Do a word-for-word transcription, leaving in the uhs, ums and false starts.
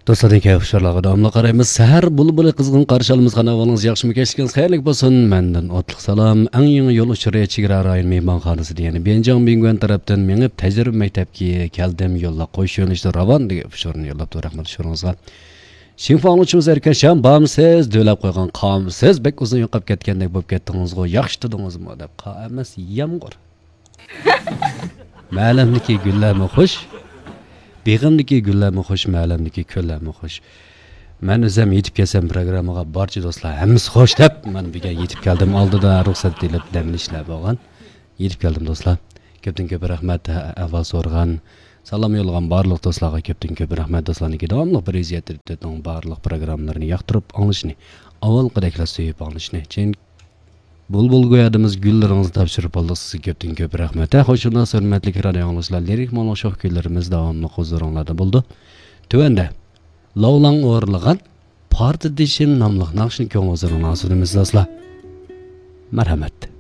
دوستلاردىن كەيپ ئۇچۇرلارغا داۋاملىق قارايمىز. سەھەر بۇلبۇلى قىزغىن قارشى ئالىمىز. قانا، ئەھۋالىڭىز ياخشىمۇ؟ كەچلىكىڭىز خەيرلىك بولسۇن. مەندىن ئوتلۇق سالام. ئەڭ يېڭى يول ئۇچۇرى چېگرا رايون مېھمانخانىسىدىن، يەنى بيەنجياڭ بىڭگۈەن تەرەپتىن مېڭىپ، تەجرىبە مەكتەپكە كەلدىم. يوللار قوش يۆنىلىشتە راۋان، دېگەن ئۇچۇرنى يوللاپتۇ. رەھمەت ئۇچۇرىڭىزغا. شىنخۇا ئاڭلىغۇچىمىز ئەركەشجان، بارمسىز؟ دۆلەپ قويغان قامسىز. بەك ئۇزۇن يوقاپ كەتكەندەك بولۇپ كەتتىڭىزغۇ، ياخشى تۇردىڭىزمۇ؟ دەپ، قار ئەمەس، يامغۇر. مەلەمدىكى گۈللەرمۇ خۇش، بېغىمدىكى گۈللەرمۇ خۇش، مەلەمدىكى كۆللەرمۇ خۇش. مەن ئۆزۈم يېتىپ كەلسەم پروگراممىغا، بارچە دوستلار ھەممىسى خۇش دەپ، مانا بۈگۈن يېتىپ كەلدىم. ئالدىدا رۇخسەت ئېلىپ دەم ئېلىشلار بولغان. يېتىپ كەلدىم دوستلار. كۆپتىن كۆپ رەھمەت، ئەھۋال سورىغان، سالام يوللىغان بارلىق دوستلارغا كۆپتىن كۆپ رەھمەت. دوستلارنىڭكى داۋاملىق بىر ئىززەت تۆتنىڭ بارلىق پروگراممىلىرىنى ياقتۇرۇپ ئاڭلىشىنى، ئاۋۋالقىدەكلا سۆيۈپ ئاڭلىشىنى. چىن بۇلبۇل گويادىمىز گۈللىرىڭىزنى تاپشۇرۇپ ئالدۇق سىزگە، كۆپتىن كۆپ رەھمەت. ھە، خوش ئۇنداق، ھۆرمەتلىك رادىئو ئاڭلىغۇچىلار، لىرىك مۇڭلۇق شوخ كۈيلىرىمىز داۋاملىق ھۇزۇرۇڭلاردا بولىدۇ. تۆۋەندە لاۋلاڭ ئورۇنلىغان پارتىدىشىم ناملىق ناخشىنى كۆڭۈل ھۇزۇرۇڭلارغا سۇنىمىز دوستلار. مەرھەمەت.